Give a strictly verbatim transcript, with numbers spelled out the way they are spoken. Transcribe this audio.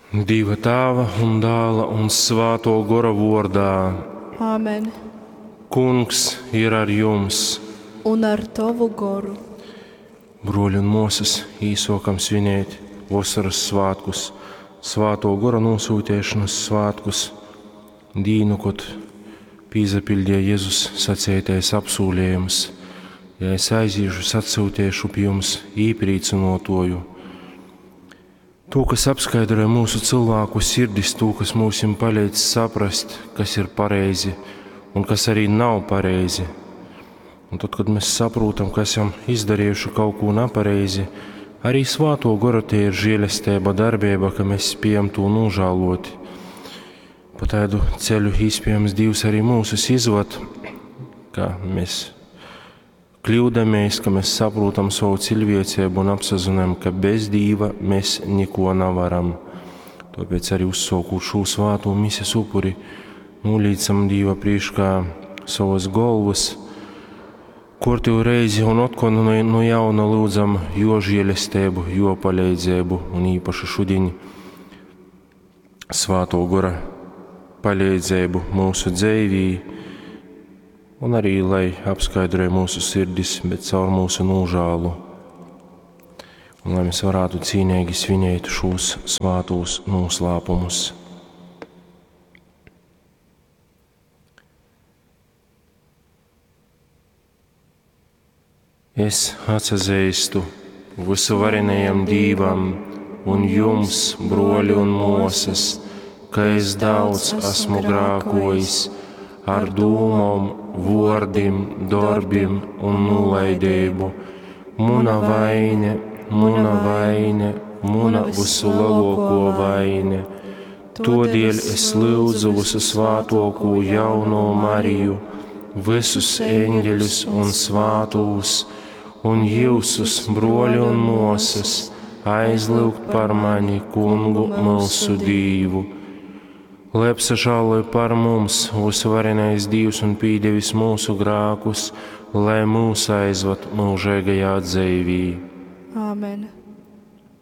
Dieva Tēva un Dēla un Svēto Gora vārdā. Āmen. Kungs ir ar jums. Un ar tovu goru. Bruoļi un muosys, īsokam svinēt vosoras svētkus, Svāto Gora nosūtēšanas svētkus, dīnu, kad pīzapildīja Jēzus sacētais apsūlējums. Ja es aizīšu, es atsūtēšu pie jums īprīcinotoju. To, kas apskaidroja mūsu cilvēku sirdis, to, kas mūsim palīdz saprast, kas ir pareizi un kas arī nav pareizi. Un tad, kad mēs saprotam, ka esam izdarījuši kaut ko nepareizi, arī Svāto Gora tie ir žēlastība, darbība, ka mēs spējam to nožēlot. Pa tādu ceļu iespējams Dievs arī mūsus izvad, ka mēs kļūdamies, ka mēs saprotam savu cilvēcību un apsazinām, ka bez Dieva mēs neko nevaram. Tāpēc arī uzsākot šo svāto mises upuri, nolīdzam Dieva priekšā savas galvas, Kortīvu reizi un otkon no, no jauna lūdzam jo žēlastību, jo palīdzību un īpaši šodien Svāto Gora palīdzību mūsu dzīvī un arī lai apskaidroja mūsu sirdis, bet caur mūsu nožēlu. Un lai mēs varētu cīnīgi svinēt šos svātos noslēpumus. Es atsazīstu visuvarenajam Dīvam un jums, broļi un mosas, ka es daudz esmu grākojis ar dūmom, vordim, darbim un nulaidību. Muna vaine, muna vaine, muna visu lielāko vaine. Todēļ es lūdzu visu svātoko jauno Mariju, visus eņģeļus un svātūs, un jūsus, broļi un mosas, aizlūgt par mani, kungu mūsu Dīvu. Lai apsažāloja par mums visvarenais Dievs un pīdevis mūsu grākus, lai mūs aizvad mūžīgajā dzīvī. Āmen.